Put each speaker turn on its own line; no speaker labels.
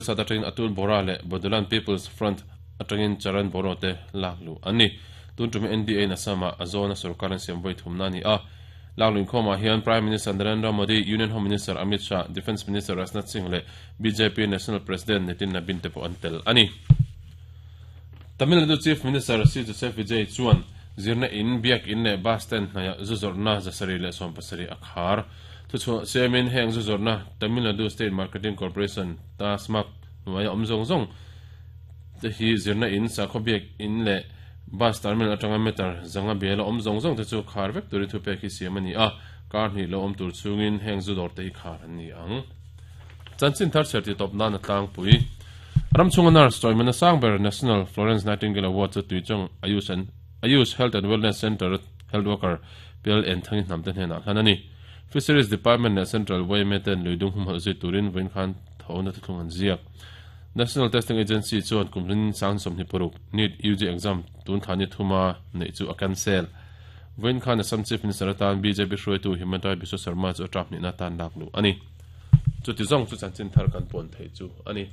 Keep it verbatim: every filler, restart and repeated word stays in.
Parishad atangin Atul Bora leh Bodoland People's Front atangin Charan Boro te lakluh an ni. Tun tum N D A in Assam-ah a zawna sorkar an siam vawi thumna a ni a. Lakluh inkhawmah hian Prime Minister Narendra Modi, Union Home Minister Amit Shah, Defence Minister Rajnath Singh leh B J P National President Nitin Nabin te pawh an tel a ni. Tamil Nadu Chief Minister C Joseph Vijay chuan zirna in, biak in leh bus stand hnaihah zu zawrhna zasarih leh sawm pasarih a khar. Thuchhuah siamin heng zu zawrhna Tamil Nadu State Marketing Corporation TASMAC hnuaia awm zawng zawng te hi zirna in, sakhaw biak in leh bus terminal atanga meter zanga biala awm zawng zawng te chu khar vek turin thupek hi siam a ni a. Kar hnih lo awm tur chungin heng zu dawr te hi khar an ni ang. Chanchin thar chhiar ti tawp nan a tlangpui. Ramchhunga nurse chawimawina sang ber National Florence Nightingale Award chu Tuichawng Ayush and Ayush Health and Wellness Center health worker Pial En Thangi Hnamte hnenah hlan a ni. Fisheries Department leh Central Y M A ten luidung humhalh zui turin vawiin khan thona thuthlung an ziak. National Testing Agency chuan kum hlin sang sawmhnih paruk NEET U G exam tun thla ni thuma neih chu a cancel. Vawiin khan Assam Chief Minister atan B J P hruaitu Himanta Biswa Sarma chu a term hnihna tan lakluh a ni. Chuti zawng chu chanchin thar kan puan thei chu a ni.